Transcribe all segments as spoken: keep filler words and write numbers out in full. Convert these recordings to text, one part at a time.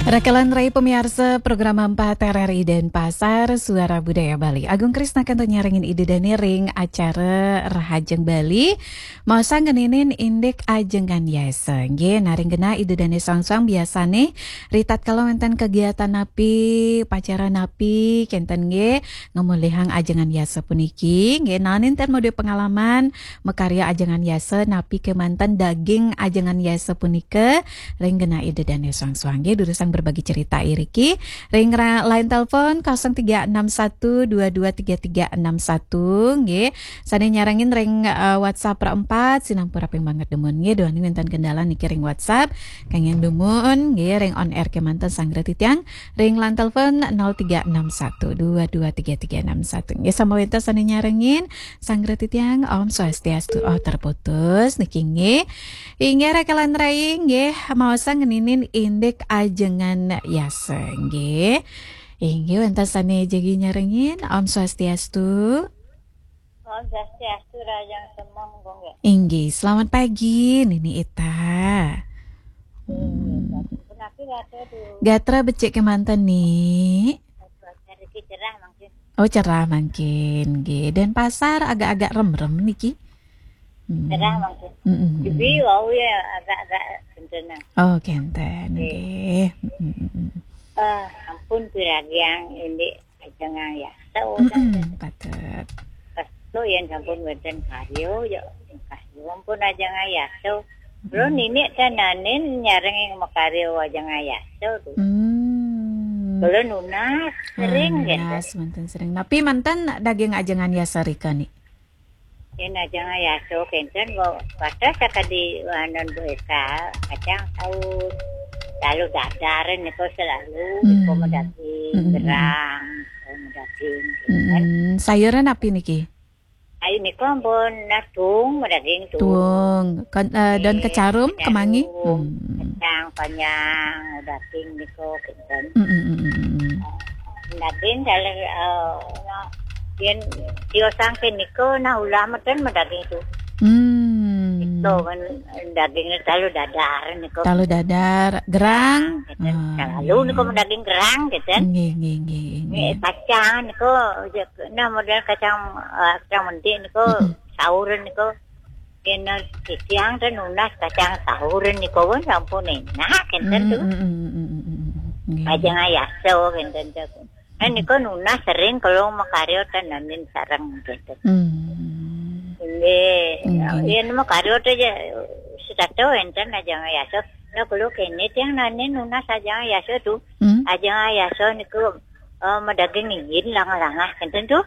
Raka lan rai pamiarsa program empat R R I Denpasar, Suara Budaya Bali. Agung Krisna kantun nyarengin Ida Dane ring acara Rahajeng Bali. Maosang ngeninin indik ajengan yasa. Nggih, nah ring genah Ida Dane soang-soang biasane ritatkala wenten kegiatan napi, upacara napi, kenten nggih, ngamolihang ajengan yasa puniki. Nggih, naenin ten madue pengalaman makarya ajengan yasa napi kemanten daging ajengan yasa punika ring genah Ida Dane soang-soang nggih, durusang berbagi cerita iriki ring ra-, line telepon kosong tiga enam satu dua dua tiga tiga enam satu nggih. Sane nyarengin ring, eh, WhatsApp ra empat, sinampura ping banget dumun nggih, duaning wenten kendala niki ring WhatsApp. Kenging dumun nggih, ring on air kemanten sanggra titiang ring line telepon nol tiga enam satu dua dua tiga tiga enam satu. Nggih, sambung wenten sane nyarengin sanggra titiang, Om Swastiastu. Oh, terputus niki nggih. Inggih, raka lan rai nggih, maosang ngeninin indik ajengan yasa nggih. Inggih, wenten sane jagi nyarengin, Om Swastiastu. Om Swastiastu, Rahajeng Semeng, Bung, nggih. Inggih, selamat pagi, Nini Ita. Hmm. Punapi gatra, Du? Gatra becik kemanten, Ni. Cuaca niki cerah mangkin. Oh, cerah mangkin, nggih. Denpasar agak-agak remrem niki. Hmm. Cerah mangkin. Mm-mm. Tapi wau ya agak-agak kenten. Oh, kenten, nggih. Nggih. Mm-mm. Eh, ampun, piragiang indik ajengan yasa, udah. Mm-mm, patut. Pas tu yen sampun wenten karya, ya karya ampun ajengan yasa. Kula, mm-mm, nini ten naenin nyarengin makarya ajengan yasa tu. Hmm. Kula nunas sering, oh, nunas kenten. Manten sering. Napi manten daging ajengan yasa rika, Ni? Yen ajengan yasa kenten, kok wates sakadi anan Bu Eka, kacang saur, talu dadar nika selalu, nika, hmm, madaging, hmm, gerang, nika madaging, kenten. Hmm, sayuran napi niki? Ayu nika ampun, nah, tuung madaging, tuung. Tuung. Kan, eh, daun, eh, kecarum, kecarum, kemangi? Hmm. Kacang panjang, madaging nika, kenten. Hmm, hmm, hmm, hmm, hmm. Daging dalam, eh, nah, yen tiosang ke nika, nah, ulah meten madaging tu. Hmm. Nika kan dagingnya talu dadar nika. Talu dadar, gerang. Nah, kenten. Ah, selalu, iya, nika madaging gerang, kenten. Nggih, nggih, nggih, nggih. Kacang nika, nah, model kacang, eh, kacang mentik nika, mm-mm, sauran nika. Yen titiang ten nunas kacang saur nika pun sampun enak kenten tu. Mm, mm, mm, mm, mm, mm, mm. Nggih. Ajengan yasa kenten tu. Eh, nika nunas sering kula makarya ten naenin sareng kenten. Hmm. Nggih. Nggih. Yen makarya ten ya setata enten ajengan yasa. Nah, kula kene tiang naenin nunas ajengan yasa tu. Hmm. Ajengan yasa niku, eh, madaging iin langah-langah kenten tu.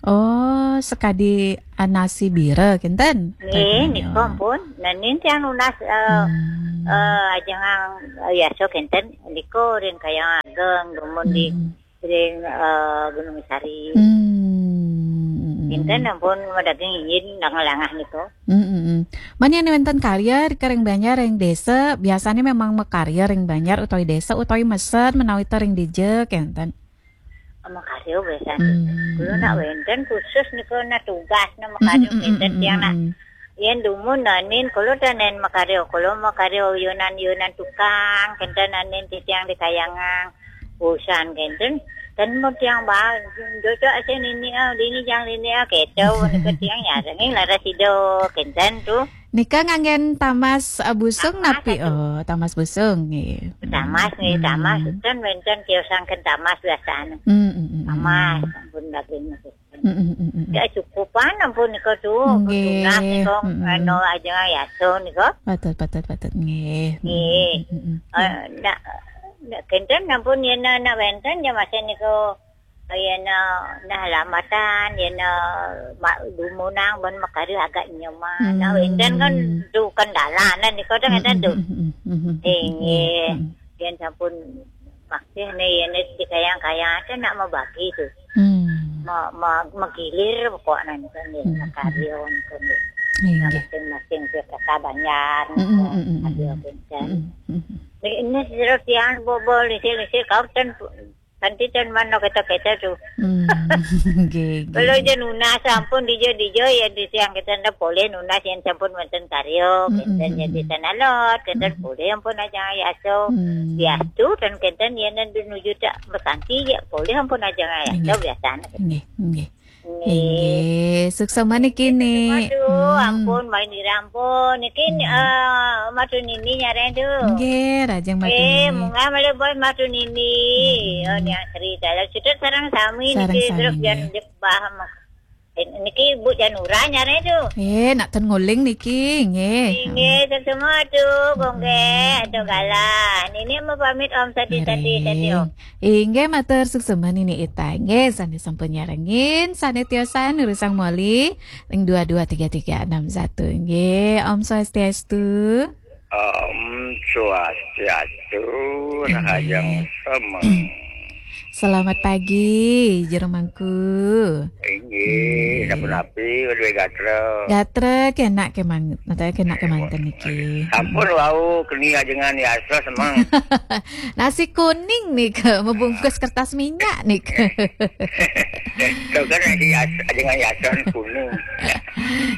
Oh, sakadi, ah, nasi bira kenten? Nggih, daging, nika, oh, ampun. Naenin tiang nunas, eh, hmm, eh, ajengan, eh, yasa kenten. Nika ring Kayuang Ageng, dumun di, hmm, ring, eh, Gunung Sari. Hmm. Kenten ampun madaging iin langah-langah nika. Hmm, hmm, hmm. Mani ane wenten karya rika ring banjar, ring desa, biasane memang makarya ring banjar utawi desa utawi mesen menawi ta ring dija kenten? Makarya biasane. Hmm. Kula nak wenten khusus nika nak tugas nak makarya, mm, mm, kenten, mm, tiang nak. Mm. Yen dumun naenin kula ten naenin makarya, kula makarya yunan-yunan tukang, kenten naenin titiang di Kayuang Ageng. Usan kenten, ten mun tiang ba, jojok sing nini, ah, dini jang nini, ah, keto, nika tiang nyarengin laras sida, kenten tu. Nika nganggen tamas, eh, busung. Tamas napi? Atu. Oh, tamas busung, nggih. Tamas, nggih, hmm, tamas. Ten wenten tiosang ken tamas biasane. Hmm, hmm, hmm, hmm. Tamas, ampun daging niku. Hmm, hmm, hmm, hmm. Ya, cukupan ampun nika tu, nggih, tunas nika, hmm, anu, ajengan yasa nika. Patut, patut, patut, nggih. Nggih. Hmm, hmm, hmm, hmm. Eh, nak, nak kenten ampun yen nak wenten ya masih nika. Yen, eh, nah, lamatan, yen, eh, ma-, dumunang ban makarya agak nyaman. Hmm. Nah, enten kan tu kendala, nah, nika kan enten tu. Hmm, hmm, hmm, hmm, hmm, hmm. Inggih. Hmm. Yen sampun maksih nih, yen di Kayuang Ageng kan nak mabagi tu. Hmm. Ma-, ma-, magilir pokoknya nih kan, nih, hmm, makarya nih kan, nih. Inggih. Nah, masing-masing tu kakak banjar, hmm, hmm, hmm, hmm, karya, hmm, enten. Hmm, hmm, hmm. Nih, ini seru tiang bobol, isi-isi kau ten Kanti ten mano keta-keta tu. Hmm, nggih, nggih. Kalau je nunas sampun dija-dija ya di siang kita ndak boleh nunas yang sampun wonten karya, hmm, kenten ya di sana lot, kenten, hmm, boleh ampun aja ya so. Hmm. Biastu dan kenten ya nen nuju tak berkanti ya boleh ampun aja ya so. Nggih. Biasanya. Nggih, nggih. Nggih. Nggih, suksma niki, Nik. Aduh, hmm, ampun, main dirampun. Niki, hmm, eh, Madu Nini nyareng tu. Nggih, rajeng Madu Nini. Eh, munggah malih bos Madu Nini. Hmm. Oh, Niang Sri dalam sudut sareng sami. Sareng niki, sami, terus nggih. Jan jebah. Eh, niki Ibu Janura nyareng tu. Eh, nak ten nguling niki, nggih. Nggih, suksma tu, hmm, Gonggeng, tu galah. Nini mau pamit Om Sadi, Sadi, Sadi, Om. Nggih. Inggih, matur suksma Nini Ita. Inggih, sane sampun nyarengin, sane tiosan nurusang moli ring dua dua tiga tiga enam satu. Inggih, Om Swastiastu. Om Swastiastu, inggih. Rahajeng semeng. Selamat pagi, Jero Mangku. Inggih, inggih. Sapunapi, duwe gatra? Gatra kenak kemang-, maksudnya kenak kemanten niki. Sampun wau keni ajengan yasa semeng. Nasi kuning nika, membungkus kertas minyak nika. Itu kan nasi yas-, ajengan yasa kuning.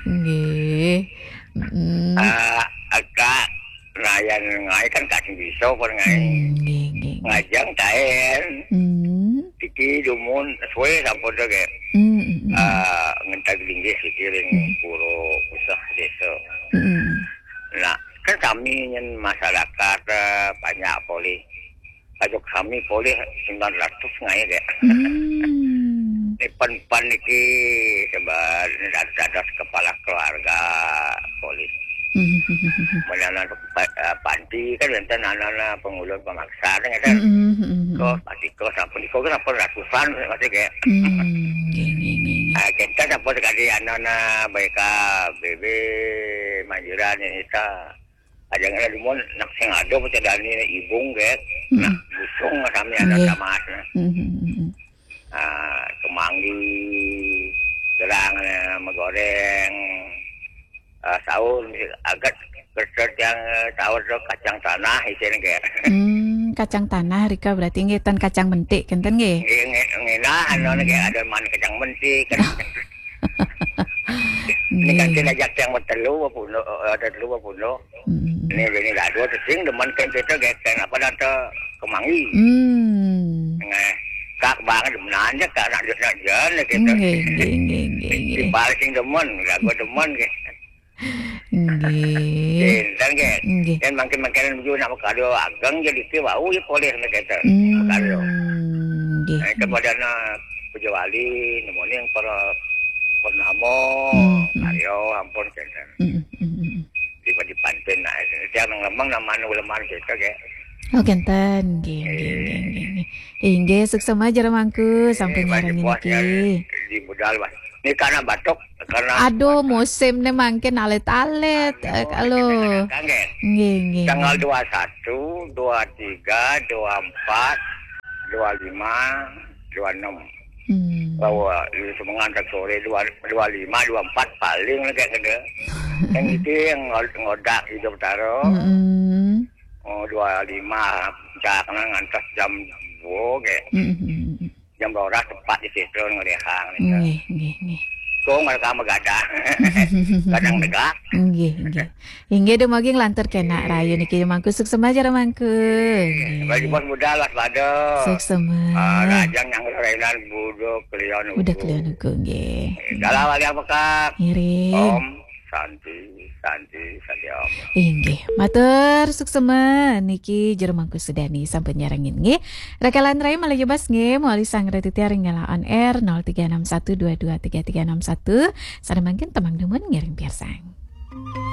Nggih. Mm-mm. Ah, agak layan ngai kan kasih bisa pun ngai. Hmm, nggih, nggih, nggih. Ngajang taen. Hmm. Iki dumun suwe sampun to, nggih. Hmm, hmm, hmm. Ah, ngentag linggih iki ring, hmm, pura usah desa. Hmm. Nah, kan sami nyen masyarakat, eh, banyak polih. Kajuk sami polih sembilan ratus ngai, nggih. Hmm. Ini pan-pan iki sebab dados kepala keluarga polih. Hmm. Menanan pa-, eh, panti kan wonten anana pengulun pemaksa kan, ya kan? Hmm, hmm, hmm, hmm. Kos, pasti kos, sampun kos, sampun ratusan masih kayak. Hmm, nggih, nggih, nggih, nggih. Ah, kita sampun sekali anana baik B B Manjuran ini ta. Ada yang ada dumun nak sing ada percaya dani ibung kayak. Hmm. Nah, busung sami ada, nggih, tamat. Hmm, hmm, hmm, hmm. Ah, kemanggi, gerang, eh, megoreng, eh, sahur, agak kerja yang, eh, sahur tu kacang tanah isin ke. Hmm, kacang tanah rika berarti nggih ten kacang mentik kenten nggih? Nggih, nggih, nggih, nah, anu, hmm, nggih, ada man kacang mentik kan. Ini kan, nggih, kena jak yang bertelu apa pun, eh, ada telu apa pun. Hmm. Ini, ini gaduh tu sing demen kan kita gek kan apa dah tu kemanggi. Hmm. Nggih. Kak banget demen aja kak nak nak jalan kita. Nggih, nggih, nggih, nggih, nggih. Timbal sing demen, gaduh demen ke. Nggih. Enten ke. Nggih. Dan makin-makin menuju nak kado ageng jadi ke bau ya poleh nak kita. Hmm. Kado. Nggih. Nah, itu pada nak pejawali, nemuning para purnama, hmm, hmm, karya, ampun, kenten. Hmm, hmm, hmm, hmm. Di, di pantun, nah, tiang nang lemang, nang manu lemang, gitu, ke. Oh, kenten. Nggih, nggih, nggih, nggih, nggih. Inggih, suksma Jero Mangku, sampun nyarengin niki. Di budal, Mas. Ini karena batuk, karena aduh, musim ne mangkin alit-alit, eh, kalau. Nggih, nggih. Tanggal dua satu, dua tiga, dua empat, dua lima, dua enam. Hmm. Bahwa di semengan tak sore dua, dua lima, dua empat paling lah kayak gitu. Yang itu yang ngod-, ngodak hidup taro. Mm-mm. Oh, dua lima, puncaknya ngantos jam dua kayak. Mm-mm. Jam dua belas tepat di situ ngelihang gitu. Nggih, nggih, nggih. Kong mereka megadah. Kadang negak. Nggih, nggih. Inggih, dumugi nglantur kenak rahayu niki mangku, suksma Jero Mangku. Nggih. Bagi bos muda lah pada. Suksma. Ah, rajang yang rainan budo kelian uku. Budo kelian uku, nggih. Dalam wali apa, Kak? Ngiring. Om Santi, Santi, Santi Om. Inggih, matur suksma niki Jero Mangku Sudani sampun nyarengin nggih. Rakalan rai malih jebas nggih, mawali sang retitiar ring on air nol tiga enam satu dua dua tiga tiga enam satu. Sareng mangkin temang dumun ngiring piarsang.